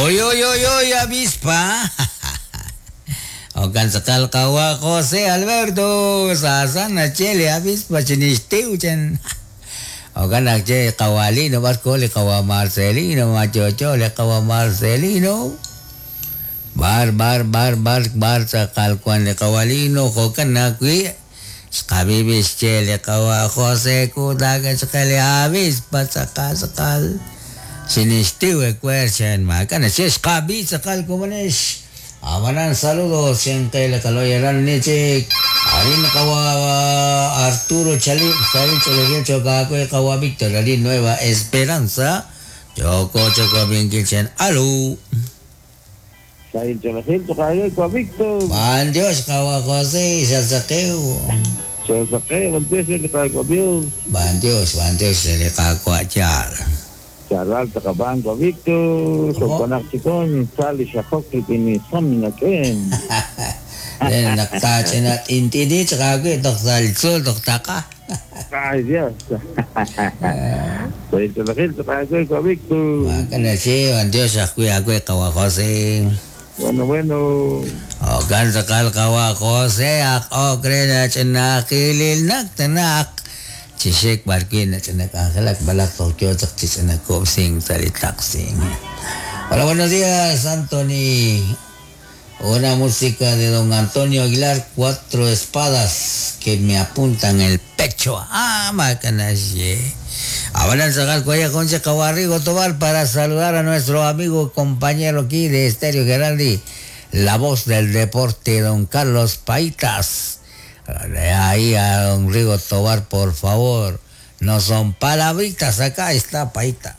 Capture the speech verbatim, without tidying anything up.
Oy, oy, oy, oy, avispa. Okan sakal kawa José Alberto sasana chele avispa chinishtiuchen. Okan akche kawalino barco le kawa Marcelino machocho le kawa Marcelino. Bar bar bar bar bar sakal kwan le kawalino jokan akwi. Xqabibix chele kawa José kudaga chkele avispa sakal sakal. Sinishtiwe kwerchen makana chesh qabi sakal kumanesh. Amanan saludos siempre kaloyaran nichik. Arin kawa Arturo Chali, Sarin Cholegel Chocaco kawa Víctor Ali Nueva Esperanza. Choco Choco bien kilchen. Alu. Sarin Cholegel Chocaco kawa Víctor. Ban Dios kawa José Sasakeo. Sasakeo, ban Dios le kawa Dios. Ban Dios, ban Dios le kawa chal. Charal takaban ko Víctor, sokonak chikon, sali shakok pini samina ken. Den nakta chenat intidi tsaka ko doktal sul doktaka. Ay Dios. Soy Cholegel tsaka ko Víctor. Makana si ban Dios ako ako kawa Jose. Bueno bueno. O gan sakal kawa Jose ak okrena chenakilil naktanak. Chishek barkin na chinakangkelak balak Tokyo chichinakopsing salitaxing. Hola, buenos días, Anthony. Una música de don Antonio Aguilar, cuatro espadas que me apuntan el pecho. Ah, macanaye. Ahora sacar cuella concha Cabarrigo Tobal para saludar a nuestro amigo compañero aquí de Estéreo Geraldi, la voz del deporte, don Carlos Paitas. Ahí a don Rigo Tobar, por favor. No son palabritas, acá está Paita.